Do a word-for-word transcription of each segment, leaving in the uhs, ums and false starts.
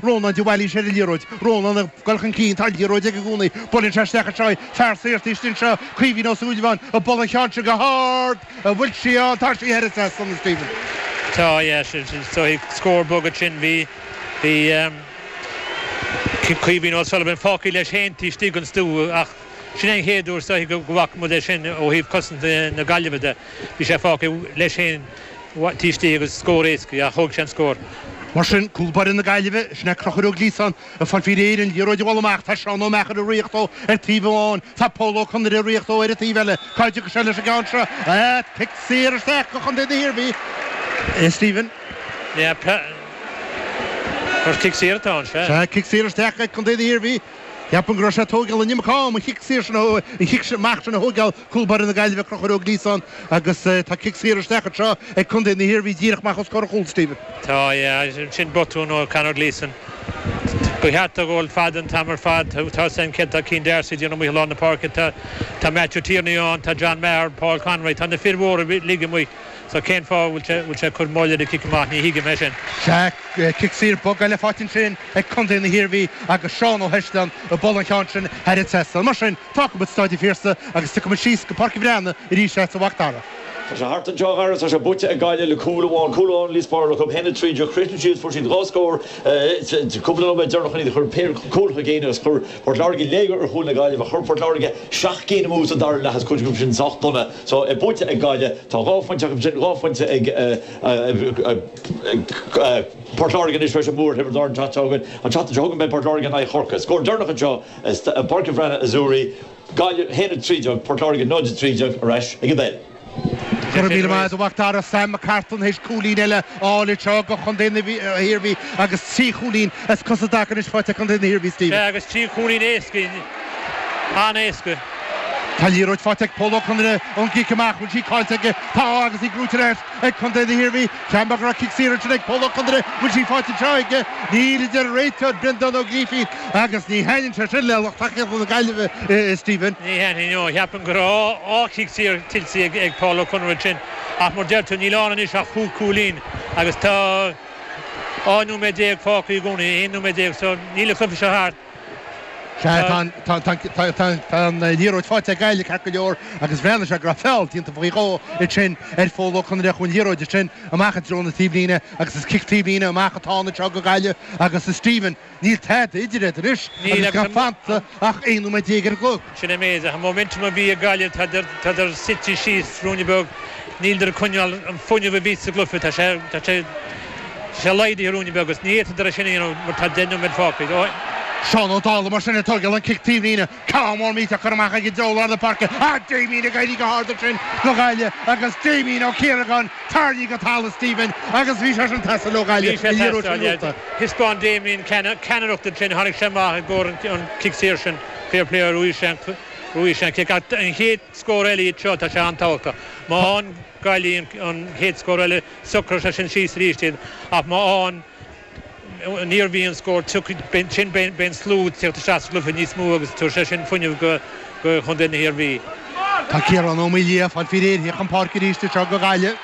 Rónán de Bhailís ar an liathróid. Rónán ag dul chun cinn, tá an liathróid aige i gcónaí. Buaileann sé isteach anseo í. Fear saor taobh istigh anseo, Caoimhín Ó Súilleabháin, ag bualadh an cheann seo go hard. An bhfuil sí ann? Tá sí thar an trasnán, a Stephen. Tá, yeah, sin, sin, so scór bog ansin, bhí, bhí um, Caoimhín O'Sullivan fágtha leis féin taobh istigh den stua ach sin é an chéad uair so go bhfaca muid é sin ó thaobh cosaint na Gaillimhe de. Bhí sé fágtha leis féin taobh istigh agus scór éasca, ach thóg sé an scór. Mar sin, cúl báire na Gaillimhe, sin é Conchúr Ó Gliasáin, ag fáil faoi réir an liathróid a bhualadh amach. Tá Seán Ó Meachair ag ritheacht dó ar taobh amháin, tá Pól Ó Conaire ag ritheacht dó ar an taobh eile. Cá dtiocfaidh sé leis an gceann seo? Ah, cic saor isteach go Chontae na hIarmhí. Eh, Stephen? Yeah, Mar cic saor atá ann, sea. Sea, cic saor isteach ag Contae na hIarmhí. Ceapaim go raibh sé ag tógáil an iomarca ama an chic saor sin a an chic amach sin a thógáil cúl báire na Gaillimhe, Conchúr Ó Gliasáin, agus tá cic saor isteach anseo ag Contae na hIarmhí díreach amach os comhair an chúil, Stephen. Tá, yeah, sin botún ó Conor Gleeson. Ba cheart dó gabháil fada an t-am ar fad. Tá san céad tá Cian D'Arcy déanamh amuigh i lár na páirce, tá tá Matthew Tierney ann, tá John Maher, Paul Conroy, tá na fir mhóra uilig amuigh. So cén fáth bhfuil sé bhfuil sé ag cur moill ar an cic amach, ní thuigim é sin. Sea, cic saor bog eile faighte ansin ag Contae na hIarmhí agus Seán Ó hEisleáin ag bualadh an cheann sin thar an trasnán. Mar sin, fágfaidh muid Staid an Phiarsaigh agus tiocfaidh muid síos go Páirc an Bhreathnaigh arís leat a Mhac Dara. Tá sé thart anseo a Dhara, tá sé buaite ag Gaillimh le cúl amháin, cúl amháin Liosbáire acu a haon a trí déag, chríochnaigh siad, fuair siad dhá scór cúpla nóiméad deireanach chun iad a chur péire cúl chun cinn agus chuir Port Láirge léigear ar chúl na Gaillimhe, chuir Port Láirge seacht gcinn amú sa dara leath is cuid acu sin sách dona. So buaite ag Gaillimh, tá dhá phointe acu sin, dhá phointe ag Port Láirge anois tar éis an bua ar Thiobraid Árann an tseachtain seo chugainn. An tseachtain seo chugainn beidh Port Láirge in aghaidh Chorcaí. Scór deireanach anseo i bPáirc an Bhreathnaigh a Zúirí, Gaillimh a haon a trí déag, Port Láirge náid a trí déag ar ais ag an bpeil. Go raibh míle maith agat a Mhac Dara. Sam McCartan théis cúilín eile a fháil anseo do Chontae na hIarmhí agus trí chúilín as cosa i dtaca anois faighte ag Contae na hIarmhí, Stephen. Sea, agus trí chúilín éasca, an-éasca. Tá liathróid faighte ag Pól Ó Conaire ón gcic amach, bhfuil sí caillte aige? Tá agus í gnóite ar ais ag Contae na hIarmhí. Ceapaim go raibh cic saor ansin ag Pól Ó Conaire, bhfuil sí faighte anseo aige? Níl, a deir an réiteoir Breandán Ó Grífín agus ní thaitníonn sé sin le lucht tacaíochta na Gaillimhe, Stephen. Ní thaitníonn, no. Cheapfainn go raibh dhá chic saor tuillte ag ag Paul Ó Conaire ansin ach mar deir tú níl ann anois ach cúig cúilín agus tá dhá nóiméad déag fágtha i gcónaí, aon nóiméad déag, so níl an cluiche seo thart. Sea, tá an liathróid faighte ag Gaillimh ceart go leor agus bhreathnaigh sé go raibh feall déanta faoi dhó ansin ar Phól Ó Conaire. Chuaigh an liathróid ansin amach i dtreo na taobhlíne agus is cic taobhlíne amach atá ann anseo go Gaillimh agus a Stephen, níl tada idir iad anois agus gan fanta ach aon nóiméad déag ar an gclog. Sin é an méid. Ach an momentum a bhí ag Gaillimh, tádar suite síos ruainne beag. Níleadar ag coinneáil an fuinneamh a bhí sa gcluiche. Tá sé, tá sé, tá sé laghdaithe ruainne beag agus ní fhéadfadar é sin a dhéanamh mar tá deich nóiméad fágtha. Seán Ó Dálaigh mar sin ag tógáil an cic taobhlíne. Ceann mór millteach curtha amach aige i dtreo lár na páirce. Ah, Damien ag éirí go hard ansin do Ghaillimh agus Damien Ó Ciaragáin tarraingthe go talamh Stephen agus bhí sé sin ag teastáil ó Ghaillimh Bhí sé an liathróid ag sin teastáil, gnóite. Thaispeáin Damien ceannaireacht ansin, tháinig sé amach i gcomhair an cic saor sin. Fair play bhuaigh sé an, bhuaigh sé an cic. Ach an chéad scór eile iad seo, tá sé an-tábhachtach. Má fhaigheann Gaillimh an chéad scór eile, socróidh sé sin síos arís iad. Ach má fhaigheann an Iarmhí an scór, tiocfaidh, sin beidh an slua ag teacht isteach sa gcluiche níos mó agus tabharfaidh sé sin fuinneamh go Chontae na hIarmhí. Tá Ciarán Ó Maoildhia ag fáil faoi réir chun páirce arís anseo go Gaillimh.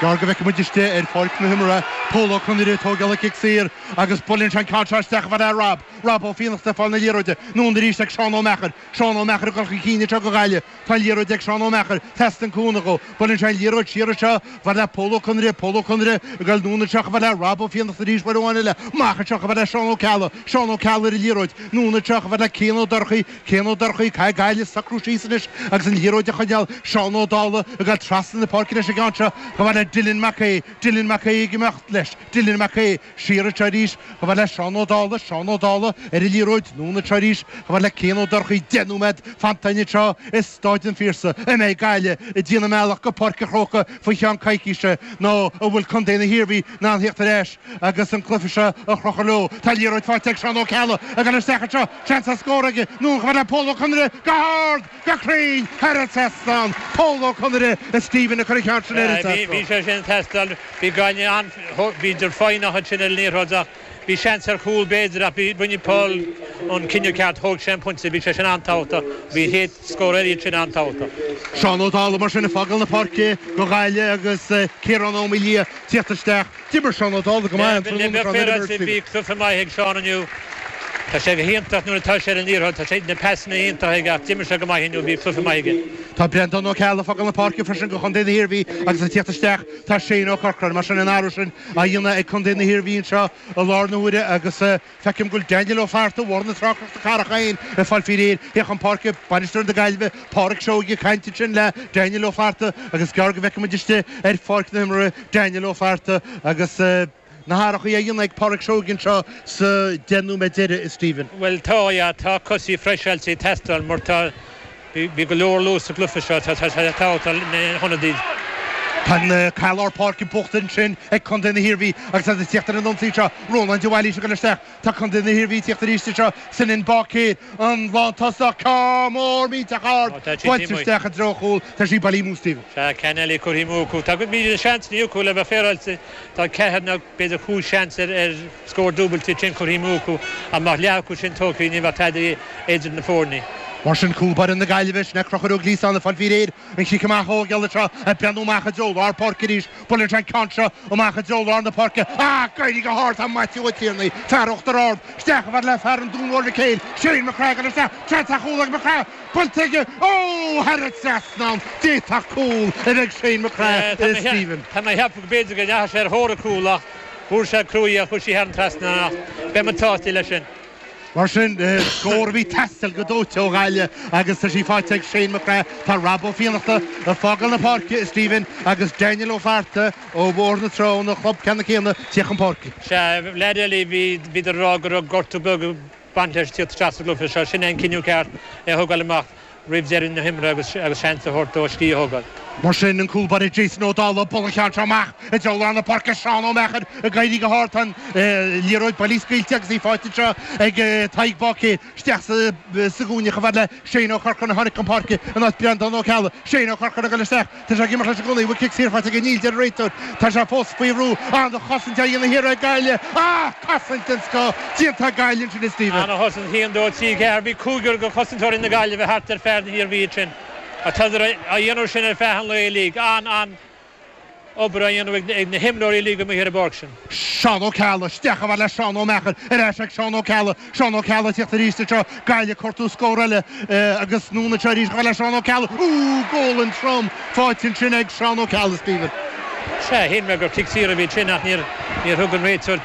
Gearr go bhfeicfidh muid istigh ar pháirc na himeartha Pól Ó Conaire ag tógáil an cic saor agus buaileann sé an ceann seo isteach a fhad le Rob. Rob Ó Fiannachta ag fáil na liathróide. Anonn arís ag Seán Ó Meachair. Seán Ó Meachair ag dul chun cinn anseo go Gaillimh. Tá an liathróid ag Seán Ó Meachair. Teastaíonn cúnamh dhó. Buaileann sé an liathróid siar anseo chomh fada le Pól Ó Conaire. Pól Ó Conaire ag dul anonn anseo chomh fada le Rob Ó Fiannachta arís uair amháin eile. Amach anseo chomh fada le Seán Ó Ceallaigh. Seán Ó Ceallaigh ar an liathróid. Anonn anseo chomh fada le Cian Ó Dorchaí. Cian Ó Dorchaí, caithfidh Gaillimh socrú síos anois agus an liathróid a choinneáil. Seán Ó Dálaigh ag dul trasna na páirce leis an gceann seo chomh fada le Dylan Mac Aodha. Dylan Mac Aodha ag imeacht leis. Dylan Mac Aodha siar anseo arís chomh fada le Seán Ó Dálaigh. Seán Ó Dálaigh ar an liathróid. Anonn anseo arís chomh fada le Cian Ó Dorchaí. Deich nóiméad fanta anseo i Stáid an Phiarsaigh. An mbeidh Gaillimh ag déanamh a mbealach go Páirc an Chrócaigh faoi cheann coicíse nó an bhfuil contae na hIarmhí in ann theacht ar ais agus an cluiche seo a chrochadh leo? Tá liathróid faighte ag Seán Ó Ceallaigh ag dul isteach anseo. Seans ar scór aige. Anonn chomh fada le Pól Ó Conaire go hard, go cruinn thar an trasnán. Pól Ó Conaire a Stephen a chuir an ceann sin ar an Bhí trasnán. sé sin ag teastáil. Bhí Gaillimh an, bhíodar foighneach ansin ar an liathróid ach bhí seans ar chúl b'fhéidir ach bhí, rinne Paul an cinneadh ceart thóg sé an pointe bhí sé sin an-tábhachtach bhí chéad scór eile sin an-tábhachtach. Seán Ó Dálaigh mar sin ag fágáil na páirce go Gaillimh agus Ciarán Ó Maoildhia tíocht isteach. D'imir Seán Ó Dálaigh go maith Bhí cluiche maith ag Seán inniu. Tá sé go hiontach nuair atá sé ar an liathróid, tá sé na pasanna iontach aige ach d'imir sé go maith inniu bhí cluiche maith aige. Tá Breandán Ó Ceallaigh ag fágáil na páirce freisin go Chontae na hIarmhí agus ag tíocht isteach tá Shane Ó Corcora mar sin an athrú sin á dhéanamh ag Contae na hIarmhí anseo i lár na huaire agus feicim go bhfuil Daniel Ó Flatharta Bhóthar na Trá Chnoc na Cathrach féin ag fáil faoi réir féach an páirce bainisteoir na Gaillimhe Pádraig Seoighe ag caint ansin le Daniel Ó Flatharta agus gearr go bhfeicfidh muid istigh ar pháirc na himeartha Daniel Ó Flatharta agus na hathruithe á dhéanamh ag Pádraig Seoighe anseo sa deich nóiméad deiridh Stephen. Well tá yeah, tá cosaí freiseáilte ag teastáil mar tá bhí go leor luas sa gcluiche seo tá tá tá na hionadaí. Tá an lár páirce buachta ansin ag Contae na hIarmhí agus tá tíocht ar an ionsaí seo Rónán de Bhailís go isteach tá Contae na hIarmhí tíocht arís seo sin in bácé an lántosach cá mór míteach ard buailte isteach i dtreo chúl tá sí bailithe amú Stephen. Sea ceann eile curtha amú acu. Tá míle seans inniu acu le bheith féaráilte tá ceathair nó b'fhéidir cúig seans ar ar scór dúbailte sin curtha amú acu ach leath acu sin tógtha ní bheadh tada idir na foirne. Mar sin cúl báire na Gaillimhe sin Conchúr Ó Gliasáin ag fáil faoi réir an chic amach ó gheall seo ag breathnú amach i dtreo lár páirce arís buaileann sé an ceann seo amach i dtreo lár na páirce ah éirí go hard tá Matthew Ó Tiarnaigh fear Uachtar Ard isteach a bheith le fear an Dún Mhór Mhic Shane McCraig isteach seans chúl ag McCrae buailte aige ó thar an trasnán d'fhéadfadh cúl a bheith Shane McCrae Stephen. Tá mé cheap go b'fhéidir go ndeachaigh sé ar thóir a cúl ach fuair sé cruaí a chuaigh sí thar an trasnán ach beidh muid sásta leis sin. Mar sin scór a bhí ag teastáil go dóite ó Ghaillimh agus tá sí faighte ag Shane McCrae tá Rob Ó Fiannachta ag fágáil na páirce Stephen agus Daniel Ó Flatharta ó Bhóthar na Trá óna chlub ceanna céanna tíocht chun páirce. Sea leaid eile bhí bhí rá go raibh gortú beag baint leis tíocht isteach sa gcluiche seo sin an cinneadh ceart é thógáil amach roimh deireadh na himeartha agus agus seans a thabhairt dó scíth a thógáil. Mar sin an cúl báire Jason Ó Dálaigh buaileann an ceann seo amach i dtreo lár na páirce Seán Ó Meachair ag éirí go hard an liathróid bailithe scaoilte agus í faighte seo ag Tadhg Báicéir isteach sa gcúinne chomh fada le Shane Ó Corcora a tháinig chun páirce in áit Breandán Ó Ceallaigh Shane Ó Corcora ag dul isteach Tá sé ag imeacht leis an gcónaí cic saor faighte aige níl deir an réiteoir Tá sé fós faoi bhrú an chosaint a dhéanamh thiar ag Gaillimh ah cosaint den scoth déanta Gaillimh sin Stephen. An chosaint haon dó trí ceathair bhí cúigear de chosantóirí na Gaillimhe thart ar fear na hIarmhí sin. A tá a dhéanamh sin ar feadh an lae uilig an an obair a dhéanamh ag na himreoirí uilig amuigh ar an bpáirc sin. Seán Ó Ceallaigh isteach a bheith le Seán Ó Meachair ar ais ag Seán Ó Ceallaigh Seán Ó Ceallaigh tíocht arís seo Gaillimh cuartú scór eile agus anonn seo arís le Seán Ó Ceallaigh ú goal trom faighte sin ag Seán Ó Ceallaigh Stephen. Sea shíl mé gur cic saor a bhí sin ach níor níor thug an réiteoir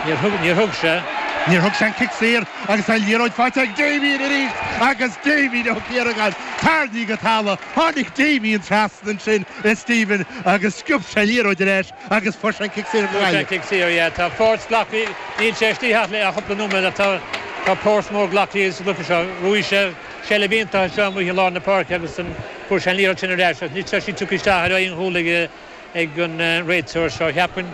níor thug níor thug sé. Níor thug sé an cic saor agus an liathróid faighte ag Damien arís agus Damien Ó Ciaragáin tarraingthe go talamh tháinig Damien trasna sin Stephen agus sciob sé liathróid ar ais agus fuair sé an cic saor go Gaillimh. Cic saor yeah tá páirt glactha níl sé istigh le a chúpla nóiméad tá tá páirt mór glactha sa gcluiche seo bhuaigh sé seilbh iontach seo amuigh i lár na páirce agus an fuair sé an liathróid sin ar ais níl sé sí tugtha isteach ar aon chúl ag ag an réiteoir seo cheapfainn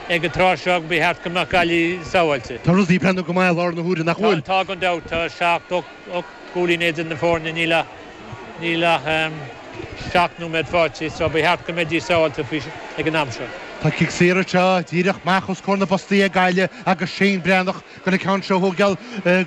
ag an tráth seo ba cheart go mbeadh Gaillimh sábháilte. Tá rudaí ag breathnú go maith lár na huaire nach bhfuil. Tá gan dabht tá seacht ocht gcúilín idir na foirne níl ach níl ach seacht nóiméad faighte so ba cheart go mbeidís sábháilte faoi ag an am seo. Tá cic saor seo díreach amach os comhair na bpostaí ag Gaillimh agus Shane Breathnach go na ceann seo thógáil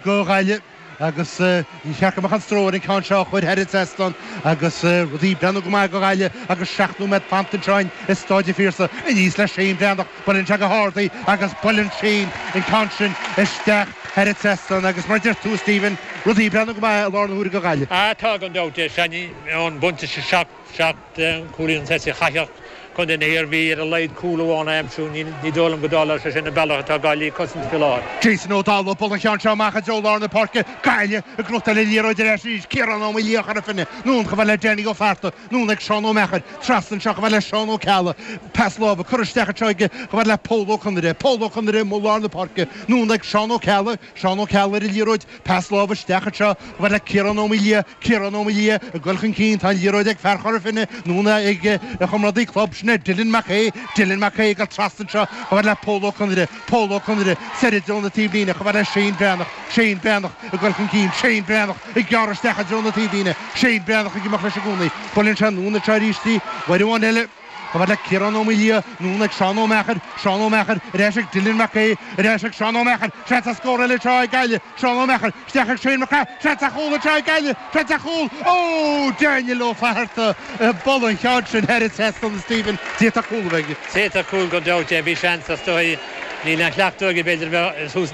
go Gaillimh agus ní cheart go mbeadh an stró ar an ceann seo chuir thar an trasnán agus rudaí ag breathnú go maith go Gaillimh agus seacht nóiméad fanta anseo i Staid an Phiarsaigh aníos le Shane Breathnach buaileann sé go hard í agus buaileann Shane an ceann sin isteach thar an trasnán agus mar deir tú Stephen rudaí ag breathnú go maith i lár na huaire go Gaillimh. Ah tá gan dabht é sin an bunte sé seacht seacht cúilín an chaithfeadh Contae na hIarmhí ar a laghad cúl amháin a aimsiú ní dóigh liom go dtarlóidh sé sin an bealach atá Gaillimh cosaint faoi láthair. Jason Ó Dálaigh buaileann an ceann seo amach i dtreo lár na páirce Gaillimh ag gnóthachtáil an liathróid ar ais arís Ciarán Ó Maoildhia Chora Finne anonn chomh fada le Danny Ó Flatharta anonn ag Seán Ó Meachair trasna anseo chomh fada le Seán Ó Ceallaigh pas láimhe curtha isteach anseo aige chomh fada le Pól Ó Conaire Pól Ó Conaire i lár na páirce anonn ag Seán Ó Ceallaigh Seán Ó Ceallaigh ar an liathróid pas láimhe isteach anseo chomh fada le Ciarán Ó Maoildhia Ciarán Ó Maoildhia ag dul chun cinn tá an liathróid ag fear Chora Finne anonn ag a chomrádaí club sin Dylan McKay Dylan McKay go trasna anseo chomh fada le Pól Ó Conaire Pól Ó Conaire soir i dtreo na taobhlíne chomh fada le Shane Breathnach Shane Breathnach ag dul chun cinn Shane Breathnach ag gearradh isteach i dtreo na taobhlíne Shane Breathnach ag imeacht leis i gcónaí buaileann sé anonn anseo arís í uair amháin eile Chomh fada le Ciarán Ó Maoildhia, anonn ag Seán Ó Meachair, Seán Ó Meachair, ar ais ag Dylan Mac Aodha, ar ais ag Seán Ó Meachair, seans ar scór eile anseo ag Gaillimh, Seán Ó Meachair, isteach ag Shane McGrath, seans ar chúl anseo ag Gaillimh, seans ar chúl, ó Daniel Ó Fatharta, bualadh an ceann sin thar an trasnán a Stephen, d'fhéadfadh cúl a bheith aige. D'fhéadfadh cúl gan dabht é, bhí seans is dóigh, níl aon chleachtadh aige b'fhéidir a bheith thuas